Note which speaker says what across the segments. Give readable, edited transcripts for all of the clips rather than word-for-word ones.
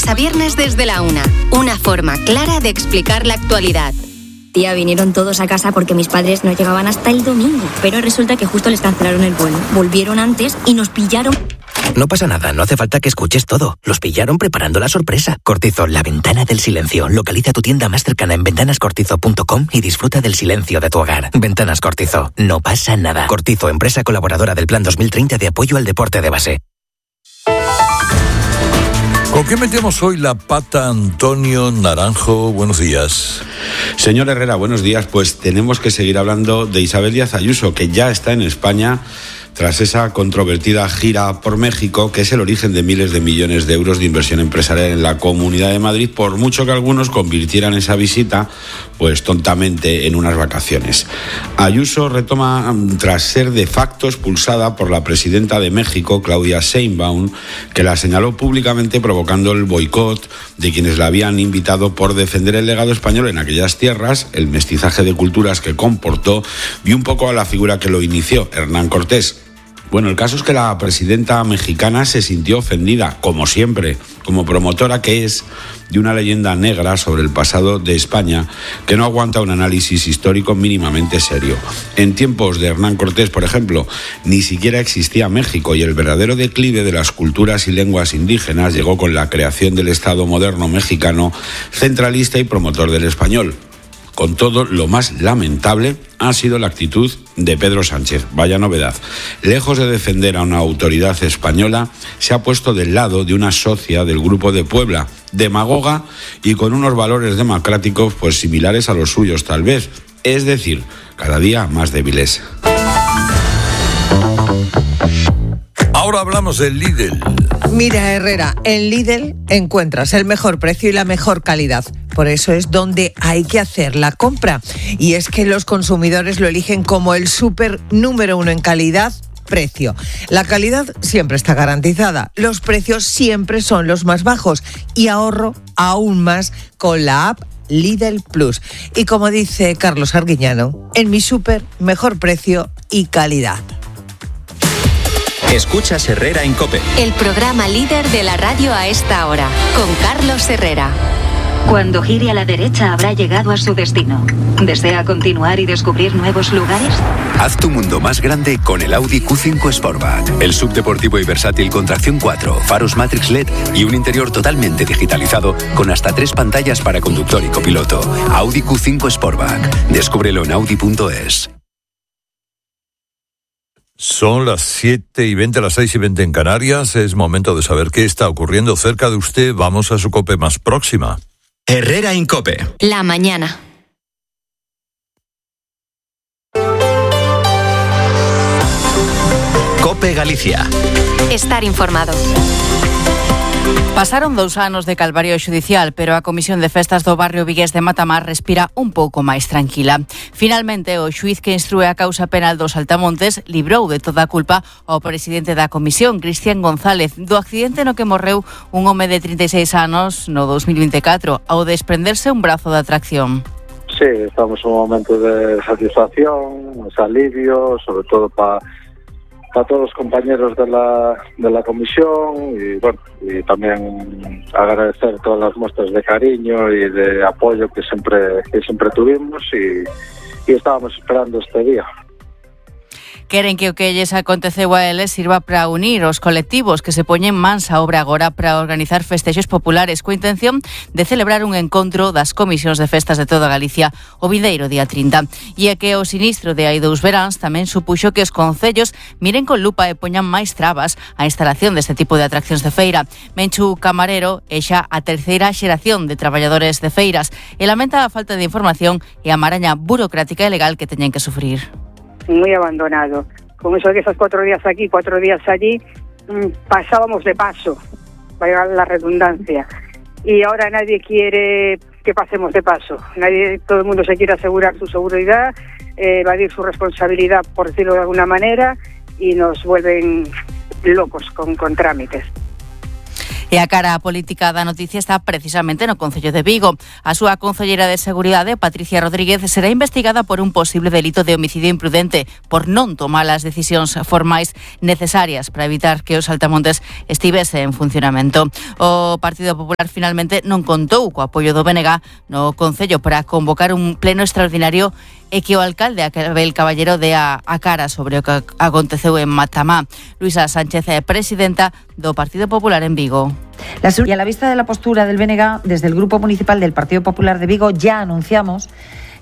Speaker 1: lunes a viernes desde la 1. Una forma clara de explicar la actualidad.
Speaker 2: Tía, vinieron todos a casa porque mis padres no llegaban hasta el domingo. Pero resulta que justo les cancelaron el vuelo. Volvieron antes y nos pillaron.
Speaker 3: No pasa nada, no hace falta que escuches todo. Los pillaron preparando la sorpresa. Cortizo, la ventana del silencio. Localiza tu tienda más cercana en ventanascortizo.com y disfruta del silencio de tu hogar. Ventanas Cortizo, no pasa nada. Cortizo, empresa colaboradora del Plan 2030 de apoyo al deporte de base.
Speaker 4: ¿Con qué metemos hoy la pata, Antonio Naranjo? Buenos días.
Speaker 5: Señor Herrera, buenos días. Pues tenemos que seguir hablando de Isabel Díaz Ayuso, que ya está en España tras esa controvertida gira por México, que es el origen de miles de millones de euros de inversión empresarial en la Comunidad de Madrid, por mucho que algunos convirtieran esa visita, pues tontamente, en unas vacaciones. Ayuso retoma tras ser de facto expulsada por la presidenta de México, Claudia Sheinbaum, que la señaló públicamente provocando el boicot de quienes la habían invitado por defender el legado español en aquellas tierras, el mestizaje de culturas que comportó y un poco a la figura que lo inició, Hernán Cortés. Bueno, el caso es que la presidenta mexicana se sintió ofendida, como siempre, como promotora que es, de una leyenda negra sobre el pasado de España que no aguanta un análisis histórico mínimamente serio. En tiempos de Hernán Cortés, por ejemplo, ni siquiera existía México y el verdadero declive de las culturas y lenguas indígenas llegó con la creación del Estado moderno mexicano, centralista y promotor del español. Con todo, lo más lamentable ha sido la actitud de Pedro Sánchez. Vaya novedad. Lejos de defender a una autoridad española, se ha puesto del lado de una socia del Grupo de Puebla, demagoga y con unos valores democráticos pues similares a los suyos tal vez. Es decir, cada día más débiles.
Speaker 4: Ahora hablamos del Lidl.
Speaker 6: Mira, Herrera, en Lidl encuentras el mejor precio y la mejor calidad. Por eso es donde hay que hacer la compra. Y es que los consumidores lo eligen como el súper número 1 en calidad-precio. La calidad siempre está garantizada. Los precios siempre son los más bajos. Y ahorro aún más con la app Lidl Plus. Y como dice Carlos Arguiñano, en mi súper, mejor precio y calidad.
Speaker 7: Escuchas Herrera en COPE.
Speaker 1: El programa líder de la radio a esta hora, con Carlos Herrera.
Speaker 8: Cuando gire a la derecha habrá llegado a su destino. ¿Desea continuar y descubrir nuevos lugares?
Speaker 7: Haz tu mundo más grande con el Audi Q5 Sportback. El subdeportivo y versátil con tracción 4, faros Matrix LED y un interior totalmente digitalizado con hasta 3 pantallas para conductor y copiloto. Audi Q5 Sportback. Descúbrelo en Audi.es.
Speaker 4: Son las 7:20, las 6:20 en Canarias. Es momento de saber qué está ocurriendo cerca de usted. Vamos a su COPE más próxima.
Speaker 7: Herrera en COPE.
Speaker 1: La mañana.
Speaker 7: COPE Galicia.
Speaker 1: Estar informado.
Speaker 9: Pasaron 2 anos de calvario xudicial, pero a Comisión de Festas do barrio vigués de Matamar respira un pouco máis tranquila. Finalmente, o xuíz que instrúe a causa penal dos Altamontes librou de toda a culpa ao presidente da comisión, Cristian González, do accidente no que morreu un home de 36 anos no 2024 ao desprenderse un brazo da tracción.
Speaker 10: Sí, estamos en un momento de satisfacción, de alivio, sobre todo para todos los compañeros de la comisión y bueno, y también agradecer todas las muestras de cariño y de apoyo que siempre tuvimos y estábamos esperando este día.
Speaker 9: Queren que o que lles aconteceu a eles sirva para unir os colectivos que se poñen mans a obra agora para organizar festexos populares coa intención de celebrar un encontro das comisións de festas de toda Galicia o vindeiro día 30. E é que o sinistro de hai 2 veráns tamén supuxo que os concellos miren con lupa e poñan máis trabas á instalación deste tipo de atraccións de feira. Menchu Camarero é xa a 3ª xeración de traballadores de feiras e lamenta a falta de información e a maraña burocrática e legal que teñen que sufrir.
Speaker 11: Muy abandonado. Con eso de esos 4 días aquí, 4 días allí, pasábamos de paso, vaya la redundancia. Y ahora nadie quiere que pasemos de paso. Todo el mundo se quiere asegurar su seguridad, evadir su responsabilidad, por decirlo de alguna manera, y nos vuelven locos con trámites.
Speaker 9: E a cara política da noticia está precisamente no Concello de Vigo. A súa concelleira de Seguridade, Patricia Rodríguez, será investigada por un posible delito de homicidio imprudente por non tomar as decisións formais necesarias para evitar que os saltamontes estivese en funcionamento. O Partido Popular finalmente non contou co apoio do BNG no Concello para convocar un pleno extraordinario e que o alcalde Abel Caballero dea a cara sobre o que aconteceu en Matamá. Luisa Sánchez é presidenta do Partido Popular en Vigo.
Speaker 12: Y a la vista de la postura del BNG, desde el Grupo Municipal del Partido Popular de Vigo ya anunciamos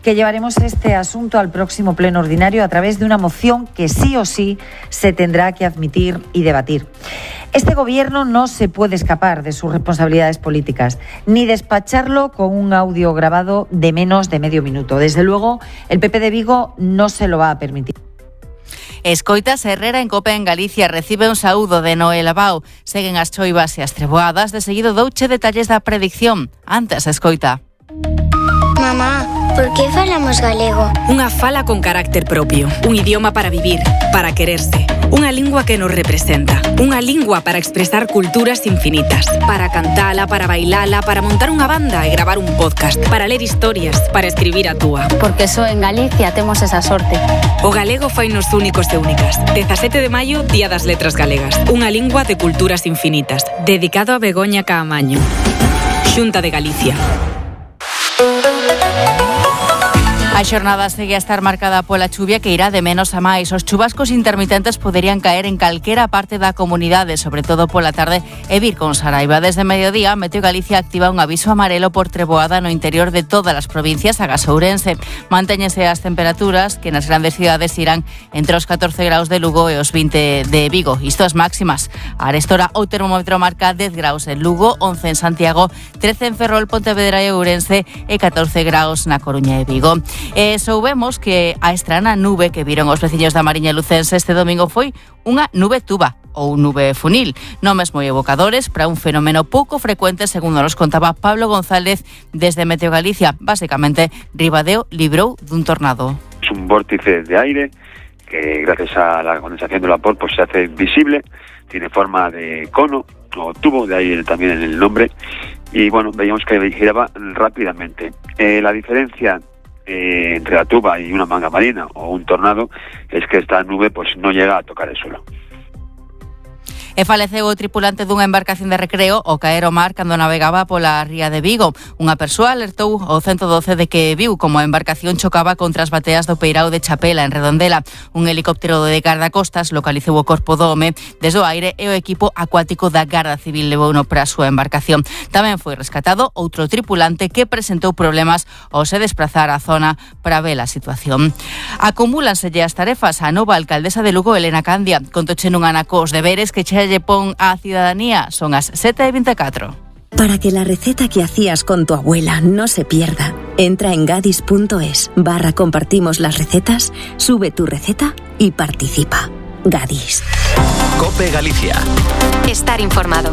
Speaker 12: que llevaremos este asunto al próximo pleno ordinario a través de una moción que sí o sí se tendrá que admitir y debatir. Este gobierno no se puede escapar de sus responsabilidades políticas, ni despacharlo con un audio grabado de menos de medio minuto. Desde luego, el PP de Vigo no se lo va a permitir.
Speaker 9: Escoitas Herrera en Cope en Galicia recibe un saúdo de Noel Abao. Seguen as choivas e as treboadas, de seguido douche detalles da predicción. Antes, escoita.
Speaker 13: Mamá, por que falamos galego? Unha fala con carácter propio, un idioma para vivir, para quererse, unha lingua que nos representa, unha lingua para expresar culturas infinitas, para cantala, para bailala, para montar unha banda e gravar un podcast, para ler historias, para escribir a túa. Porque só en Galicia temos esa sorte. O galego fainos únicos e únicas. 17 de maio, Día das Letras Galegas, unha lingua de culturas infinitas, dedicado a Begoña Caamaño. Xunta de Galicia.
Speaker 9: A xornada segue a estar marcada pola chuvia que irá de menos a máis. Os chubascos intermitentes poderían caer en calquera parte da comunidade, sobre todo pola tarde e vir con saraiva. Desde mediodía, Meteo Galicia activa un aviso amarelo por treboada no interior de todas as provincias agás Ourense. Mantéñense as temperaturas que nas grandes cidades irán entre os 14 graus de Lugo e os 20 de Vigo. Isto as máximas. A arestora o termómetro marca 10 graus en Lugo, 11 en Santiago, 13 en Ferrol, Pontevedra e Ourense e 14 graus na Coruña e Vigo. Soubemos que a estrana nube que viron os veciños da Mariña Lucense este domingo foi unha nube tuba ou nube funil, nomes moi evocadores para un fenómeno pouco frecuente, segundo nos contaba Pablo González desde Meteo Galicia. Básicamente, Ribadeo librou dun tornado.
Speaker 14: Es un vórtice de aire que gracias a la condensación del vapor pues se hace visible, tiene forma de cono o tubo, de ahí también en el nombre, y bueno, veíamos que giraba rápidamente. La diferencia entre la tuba y una manga marina o un tornado es que esta nube pues no llega a tocar el suelo.
Speaker 9: E faleceu o tripulante dunha embarcación de recreo ao caer ao mar cando navegaba pola ría de Vigo. Unha persoa alertou ao 112 de que viu como a embarcación chocaba contra as bateas do peirao de Chapela, en Redondela. Un helicóptero de gardacostas localizou o corpo do home desde o aire e o equipo acuático da Garda Civil levouno para a súa embarcación. Tamén foi rescatado outro tripulante que presentou problemas ao se desplazar á zona para ver a situación. Acumúlanselle as tarefas á nova alcaldesa de Lugo, Elena Candia. Contoche nun anaco os deberes que lle pon a ciudadanía. Son as 7:24.
Speaker 15: Para que la receta que hacías con tu abuela no se pierda, entra en gadis.es/compartimos las recetas, sube tu receta y participa. Gadis.
Speaker 7: COPE Galicia.
Speaker 1: Estar informado.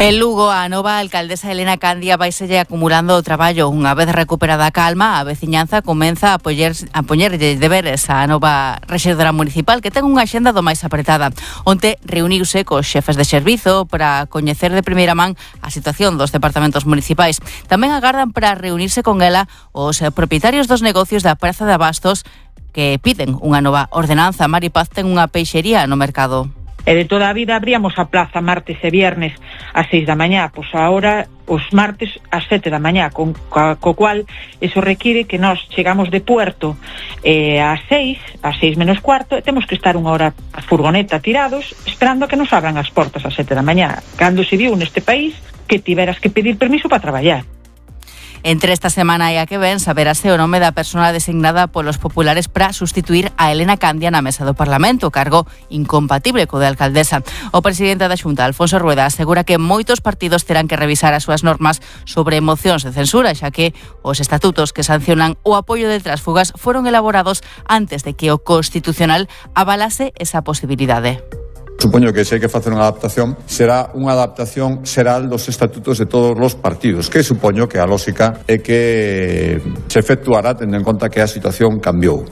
Speaker 9: En Lugo, a nova alcaldesa Elena Candia vaiselle acumulando o traballo. Unha vez recuperada a calma, a veciñanza comeza a poñerlle deberes á nova rexedora municipal, que ten unha axenda do máis apretada. Onte reuniuse cos xefes de servizo para coñecer de primeira man a situación dos departamentos municipais. Tamén agardan para reunirse con ela os propietarios dos negocios da Praza de Abastos que piden unha nova ordenanza. Mari Paz ten unha peixería no mercado.
Speaker 16: E de toda a vida abríamos a plaza martes e viernes ás 6 da mañá, pois agora os martes ás 7 da mañá, co cual eso require que nós chegamos de Puerto ás 6 menos cuarto, e temos que estar unha hora a furgoneta tirados esperando a que nos abran as portas ás 7 da mañá. Cando se viu neste país que tiveras que pedir permiso para traballar.
Speaker 9: Entre esta semana e a que ven saberase o nome da persona designada polos populares para sustituir a Elena Candia na mesa do Parlamento, cargo incompatible co de alcaldesa. O presidente da Xunta, Alfonso Rueda, asegura que moitos partidos terán que revisar as súas normas sobre mocións de censura, xa que os estatutos que sancionan o apoio de tránsfugas foron elaborados antes de que o Constitucional avalase esa posibilidade.
Speaker 17: Supoño que se hai que facer unha adaptación, será unha adaptación xeral dos estatutos de todos os partidos, que supoño que a lógica é que se efectuará tendo en conta que a situación cambiou.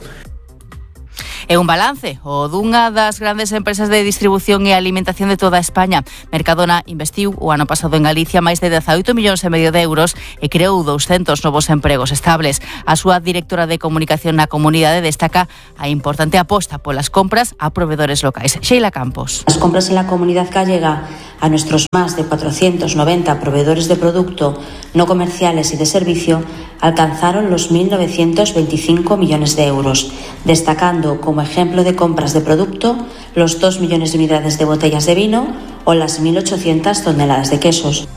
Speaker 9: É un balance o dunha das grandes empresas de distribución e alimentación de toda España. Mercadona investiu o ano pasado en Galicia máis de 18,5 millóns de euros e creou 200 novos empregos estables. A súa directora de comunicación na comunidade destaca a importante aposta polas compras a proveedores locais. Sheila Campos.
Speaker 18: Las compras en la comunidad gallega a nuestros más de 490 proveedores de producto no comerciales y de servicio alcanzaron los 1.925 millones de euros, destacando como ejemplo de compras de producto los 2 millones de unidades de botellas de vino o las 1.800 toneladas de quesos.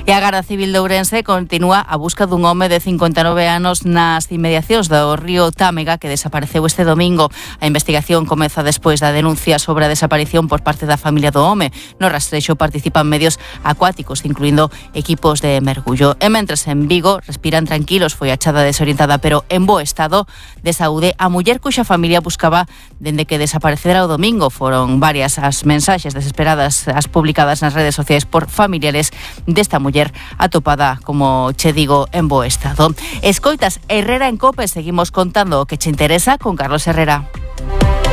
Speaker 9: E a Garda Civil de Ourense continúa a busca dun home de 59 anos nas inmediacións do río Támega que desapareceu este domingo. A investigación comeza despois da denuncia sobre a desaparición por parte da familia do home. No rastrexo participan medios acuáticos, incluindo equipos de mergullo. E mentres en Vigo respiran tranquilos, foi achada desorientada pero en bo estado de saúde a muller cuxa familia buscaba dende que desaparecera o domingo. Foron varias as mensaxes desesperadas as publicadas nas redes sociais por familiares desta muller atopada, como che digo, en bo estado. Escoitas Herrera en Cope, seguimos contando o que che interesa con Carlos Herrera.